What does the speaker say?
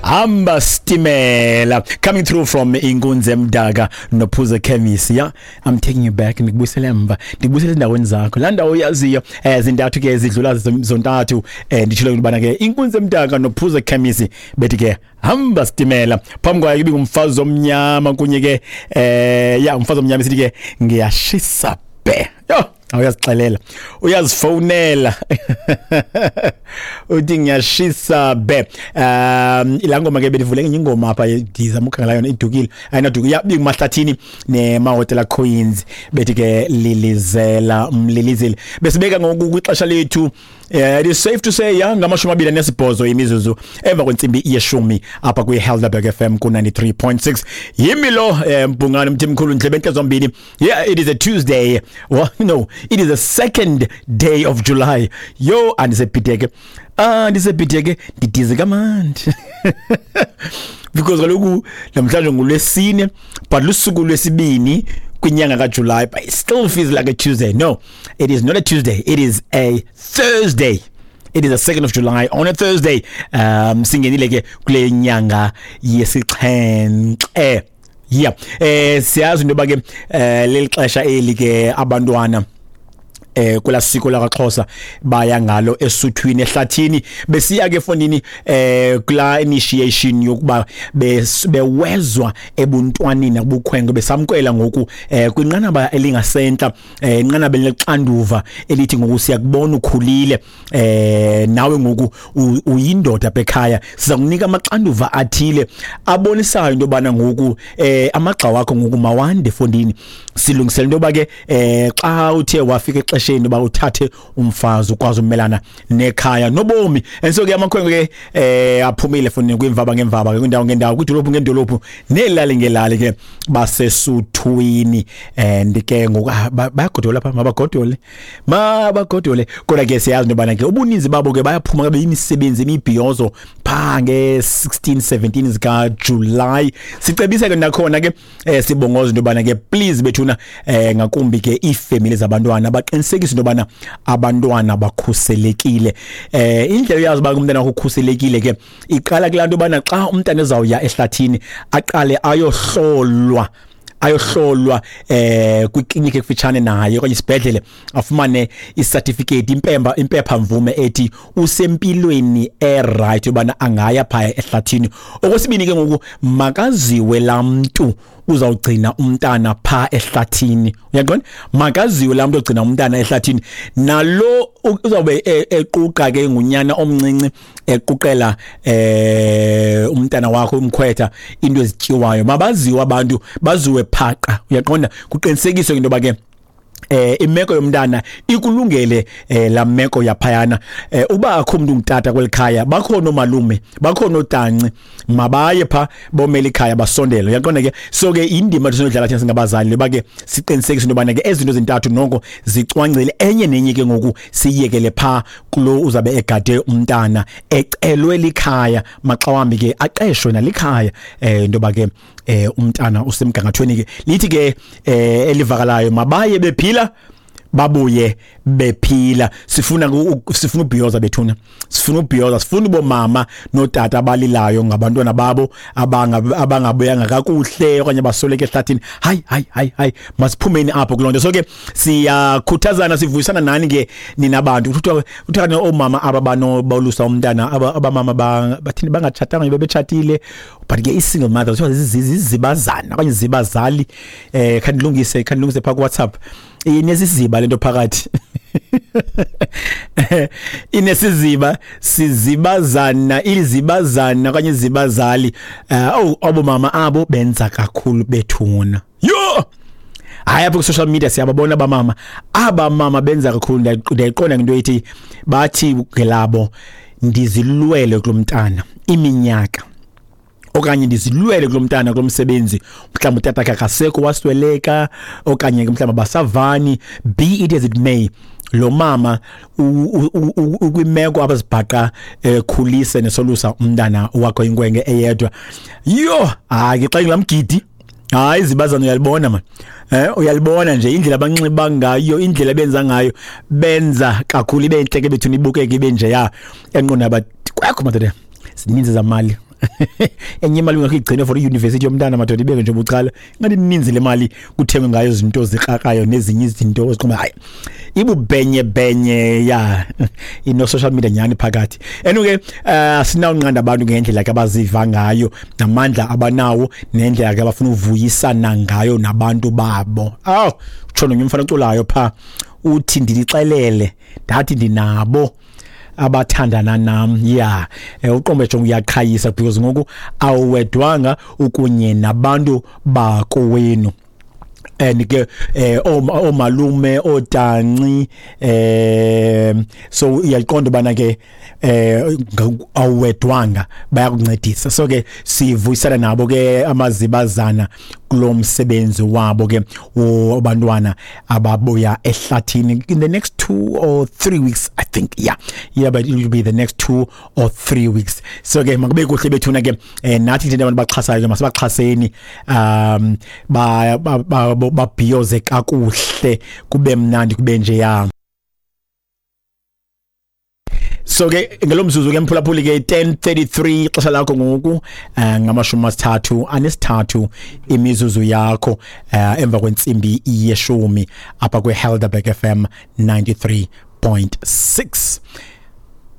Hamba Stimela coming through from Inkunzi Emdaka noPhuza Khemisi. Yeah, I'm taking you back, ndikubuyisele emva, ndikubuyisele endaweni zakho, laa ndawo uyaziyo. Zintathu ke zidlula zontathu. Nditshilo into yobana ke Inkunzi Emdaka noPhuza Khemisi bethi ke Hamba Stimela. Phambi kwayo ibingumfazi omnyama kunye ke ya umfazi omnyama sithi ke ngiyashisa bhe. Yho, awuyazixelela, uyazifowunela, uthi ngiyashisa be. Laa ngoma ke bendivule enye ingoma apha, ndizama ukhangela yona, idukile, ayinaduka. Ya, ibinguMahlathini neMahotela Queens bethi ke lilizela mlilizeli. Besibeka ngoku kwixesha lethu. It is safe to say, ya, 28 imizuzu emva kwentsimbi yeshumi apha kwi-Helderberg FM ku-93.6. Yimi lo Mbhungane Mthimkhulu Ndlebe zombini. Yeah, it is a Tuesday. Well, no, it is the second day of July. Yo, andisebhideke, andisebhideke, ndidize kamandi because kaloku namhlanje ngulwesine, but lusuku lwesibini kwinyanga kaJuly, but it still feels like a Tuesday. No, it is not a Tuesday, it is a Thursday. It is the 2nd of July on a Thursday. Singenile ke kule nyanga yesixhenxe. Yeah, siyazi into yoba ke leli xesha eli ke abantwana kula siko lakaXhosa baya ngalo esuthwini, ehlathini, besiya ke fondini kula initiation yokuba bewezwa ebuntwaneni nakubukhwenkwe, besamkwela ngoku kwinqanaba elingasentla, inqanaba elixanduva elithi ngoku siyakubona ukhulile, nawe ngoku uyindoda apha ekhaya, siza kunika amaxanduva athile abonisayo into yobana ngoku amagxa wakho ngoku mawande fondini, silungisela into yoba ke xa uthe wafika exesheni uba uthathe umfazi ukwazi umelana nekhaya nobomi. And so ke amakhwenkwe ke aphumile fondini kwiimvaba ngeemvaba ke, kwiindawo ngendawo, kwiidolophu ngeedolophu, neelali ngeelali ke, basesuthwini. And ke ngoku bayagodola phaa, mabagodole, mabagodole. Kodwa ke siyazi into yobana ke ubuninzi babo ke bayaphuma ke beyimisebenzi, imibhiyozo phaa nge-16 17 zikaJulayi. Sicebise ke nakhona ke, sibongoza into yobana ke please bethuna, ngakumbi ke iifemeli zabantwana, baqinisekise into yobana abantwana bakhuselekile. Indlela uyazi uba umntana wakho ukhuselekile ke iqala kulaa nto yobana xa umntana ezawuya ehlathini aqale ayohlolwa kwikliniki ekufitshane naye okanye isibhedlele, afumane icertificate, impemba, impepha mvume ethi usempilweni eright yobana angaya phaya ehlathini. Okwesibini ke ngoku, makaziwe laa mntu uzawugcina umntana phaa ehlathini, uyaqonda? Makaziwe laa mntu ogcina umntana ehlathini, nalo uzawube equqa ke ngunyana omncinci, equqela umntana wakho umkhwetha into ezityiwayo. Mabaziwe abantu, baziwe phaqa, uyaqonda? Kuqinisekiswe into yoba ke imeko yomntana ikulungele la meko yaphayana. Uba akho umuntu ungutata kwelikhaya, bakhona omalume, bakhona otanci, mabaye pha bomela ikhaya, basondele, uyaqonda ke? So ke indima esinodlala thina singabazali loba ke siqinisekise into yobana ke ezinto zintathu noko zicwangcile, enye nenye ke ngoku siyekele pha kulo uzabe egade umntana ecelwe likhaya, maxa wambi ke aqeshwe nalikhaya, into yoba ke umntana usemgangathweni ke. Lithi ke elivakalayo, mabaye bephila, babuye bephila. Sifuna ubhiyoza bethuna, sifuna ubhiyoza, sifuna ubomama notata abalilayo ngabantwana babo abangabuyanga kakuhle okanye basoleke ehlathini. Hayi, hayi, hayi, hayi, masiphumeni apho kuloo nto. So ke siyakhuthazana, sivuyisana nani ke nina bantu. Kuthiwa oomama aba banobolusa umntana, abamama bathini, bangatshatanga, bebetshatile, but ke i-single mothers kuthiwa zizibazana okanye zibazali. Khandilungise phaa kuWhatsApp, inesiziba lento phakathi, inesiziba, sizibazana, izibazana okanye izibazali. Oh, abo mama abo benza kakhulu bethuna. Yho, hayi, apha ku-social media siyababona abamama, abamama benza kakhulu. Ndiyayiqonda ngento ethi bathi ngelabo, ndizilwele kulo mntana iminyaka okanye ndizilwele kulo mntana kulo msebenzi, mhlawumbi utata wakhe akasekho, wasweleka, okanye ke mhlawumbi abasavani. Be it as it may, lo mama ukwimeko abazibhaqa ekhulise nesolusa umntana wakho inkwenke eyedwa. Yho, hayi ke, xa ingulamgidi, hayi, izibazana uyalibona man, uyalibona nje indlela abanxiba ngayo, indlela abenza ngayo, benza kakhulu ibe intle ke bethuna, ibukeke ibe nje ya enqonda, but kwakho madoda zininzi zamali. Enye imali ungakho igcine for iyunivesithi yomntana, madoda, ibeke nje bucala. Ingathi ininzi le mali kuthengwe ngayo izinto zikrakayo nezinye izinto oziqomba, hayi, ibubhenye benye ya ino social media nyani phakathi. Anyway, sinawunqanda abantu ngendlela ke abaziva ngayo, namandla abanawo, nendlela ke abafuna uvuyisana ngayo nabantu babo. Aw, utsho nomnye umfana oculayo pha, uthi ndilixelele ndathi ndinabo abathandana nam. Ya, uqombe jonga, uyaqhayisa because ngoku awuwedwanga, ukunye nabantu bakowenu and ke omalume, otanci, so uyaqonda bana ke awuwedwanga, bayakuncedisa. So ke sivuyisana nabo ke amazibazana kulo msebenzi wabo ke wabantwana ababuya ehlathini in the next 2 or 3 weeks, I think. Yeah, but it will be the next 2 or 3 weeks. So ke makube kuhle bethuna ke. Nathi nje abantu baxhasayo ke masibaxhaseni, ba babhiyoze kakuhle, kube mnandi, kube nje ya. So ke ngelo mzuzu ke, mphulaphuli ke, 10:33 ixesha lakho ngoku, 33 imizuzu yakho emva kwentsimbi yeshumi apha kwe Helderberg FM 93.6.